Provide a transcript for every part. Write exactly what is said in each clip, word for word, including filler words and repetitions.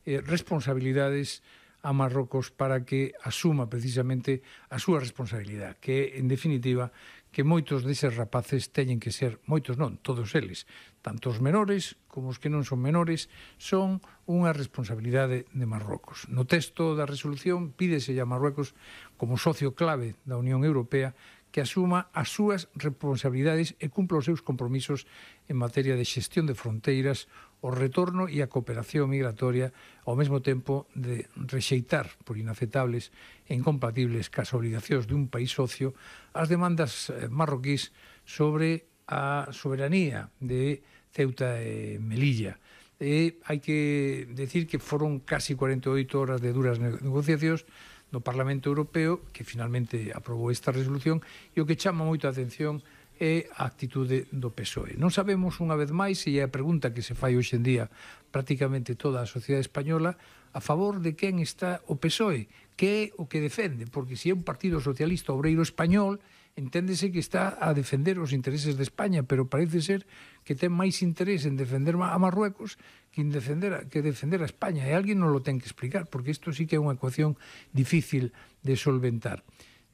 eh, responsabilidades a Marrocos para que asuma precisamente a súa responsabilidade, que é, en definitiva, que moitos deses rapaces teñen que ser, moitos non, todos eles, tanto os menores como os que non son menores, son unha responsabilidade de Marrocos. No texto da resolución pídese a Marruecos como socio clave da Unión Europea que asuma as súas responsabilidades e cumpla os seus compromisos en materia de xestión de fronteiras, o retorno e a cooperación migratoria, ao mesmo tempo de rexeitar por inaceptables e incompatibles cas obligacións dun país socio as demandas marroquís sobre a soberanía de Ceuta e Melilla. E hai que decir que foron casi cuarenta e oito horas de duras negociacións no Parlamento Europeo, que finalmente aprobou esta resolución, e o que chama moito a atención é a actitude do P S O E. Non sabemos, unha vez máis, e é a pregunta que se fai hoxe en día prácticamente toda a sociedade española, a favor de quen está o P S O E, que é o que defende, porque se é un partido socialista obreiro español, enténdese que está a defender os intereses de España, pero parece ser que ten máis interés en defender a Marruecos que en defender a, que defender a España, e alguén non lo ten que explicar, porque isto sí que é unha ecuación difícil de solventar.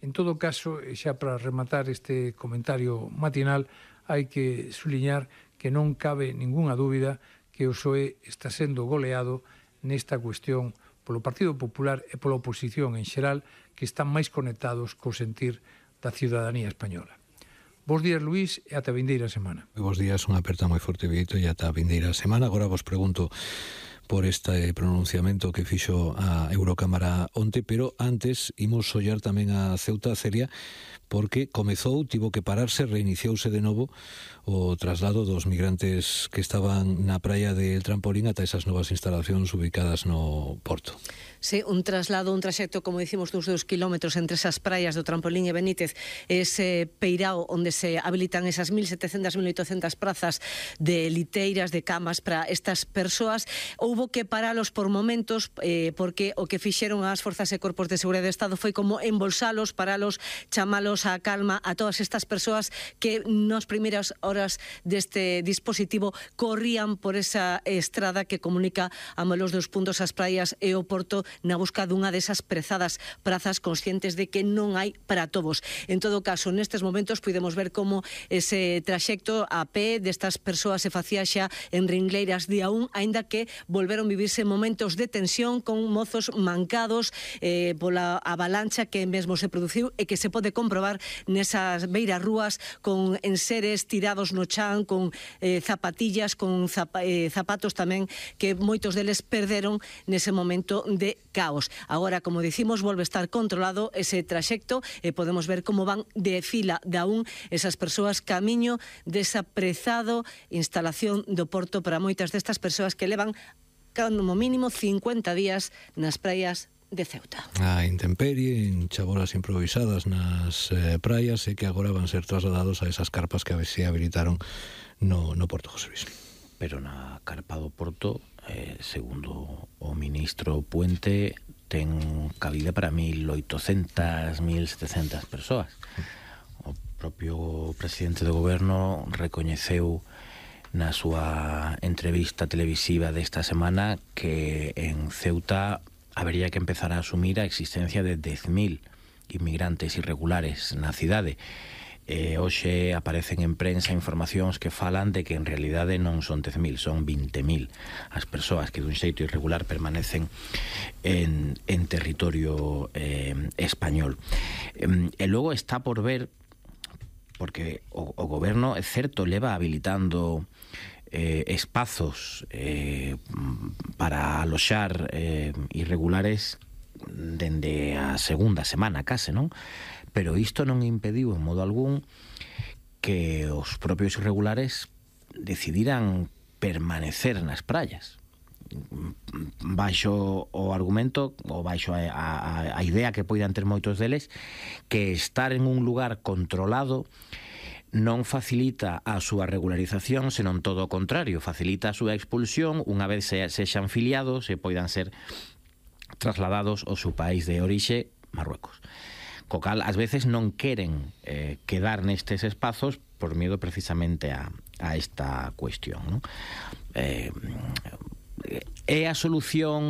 En todo caso, xa para rematar este comentario matinal, hai que suliñar que non cabe ningunha dúbida que o P S O E está sendo goleado nesta cuestión polo Partido Popular e pola oposición en xeral, que están máis conectados co sentir da ciudadanía española. Bos días, Luís, e ata a vindeira semana. Bos días, unha aperta moi forte, Vito, e ata a vindeira semana. Agora vos pregunto por este pronunciamento que fixo a Eurocámara onte, pero antes imos ollar tamén a Ceuta, Celia, porque comezou, tivo que pararse, reiniciouse de novo o traslado dos migrantes que estaban na praia de El Trampolín ata esas novas instalacións ubicadas no porto. Sí, un traslado, un traxecto, como dicimos, dos dos kilómetros entre esas praias do Trampolín e Benítez, ese peirao onde se habilitan esas mil setecentas, mil oitocentas prazas de liteiras, de camas para estas persoas. Houbo que paralos por momentos eh, porque o que fixeron as forzas e corpos de seguridade do Estado foi como embolsalos, paralos, chamalos a calma a todas estas persoas que nas primeiras horas deste dispositivo corrían por esa estrada que comunica a molos dos puntos as praias e o porto na busca dunha desas prezadas prazas, conscientes de que non hai para todos. En todo caso, nestes momentos podemos ver como ese traxecto a pé destas persoas se facía xa en ringleiras de a un, aínda que volveron vivirse momentos de tensión con mozos mancados eh, pola avalancha que mesmo se produciu e que se pode comprobar nesas beiras rúas con enseres tirados no chan, con eh, zapatillas, con zap eh, zapatos tamén que moitos deles perderon nese momento de caos. Agora, como dicimos, volve a estar controlado ese traxecto e podemos ver como van de fila de a un esas persoas camiño desa prezado instalación do porto para moitas destas persoas que levan como mínimo cincuenta días nas praias de Ceuta. A intemperie, en chabolas improvisadas nas eh, praias, e que agora van ser trasladados a esas carpas que se habilitaron no, no Porto, José Luis. Pero na carpa do Porto, eh, segundo o ministro Puente, ten cabida para mil oitocentas, mil setecentas persoas. O propio presidente do goberno recoñeceu na súa entrevista televisiva desta semana que en Ceuta habería que empezar a asumir a existencia de dez mil inmigrantes irregulares na cidade. E hoxe aparecen en prensa informacións que falan de que en realidade non son dez mil, son vinte mil as persoas que dun xeito irregular permanecen en, en territorio eh, español. E, e logo está por ver, porque o, o goberno, é certo, leva habilitando eh, espazos eh, para aloxar eh, irregulares dende a segunda semana case, non? Pero isto non impediu en modo algún que os propios irregulares decidiran permanecer nas praias baixo o argumento ou baixo a, a, a idea que poidan ter moitos deles que estar en un lugar controlado non facilita a súa regularización, senón todo o contrario, facilita a súa expulsión unha vez se, sexan filiados e poidan ser trasladados ao seu país de orixe, Marruecos. Co cal, ás veces non queren eh, quedar nestes espazos por miedo precisamente a, a esta cuestión, ¿no? Eh, é a solución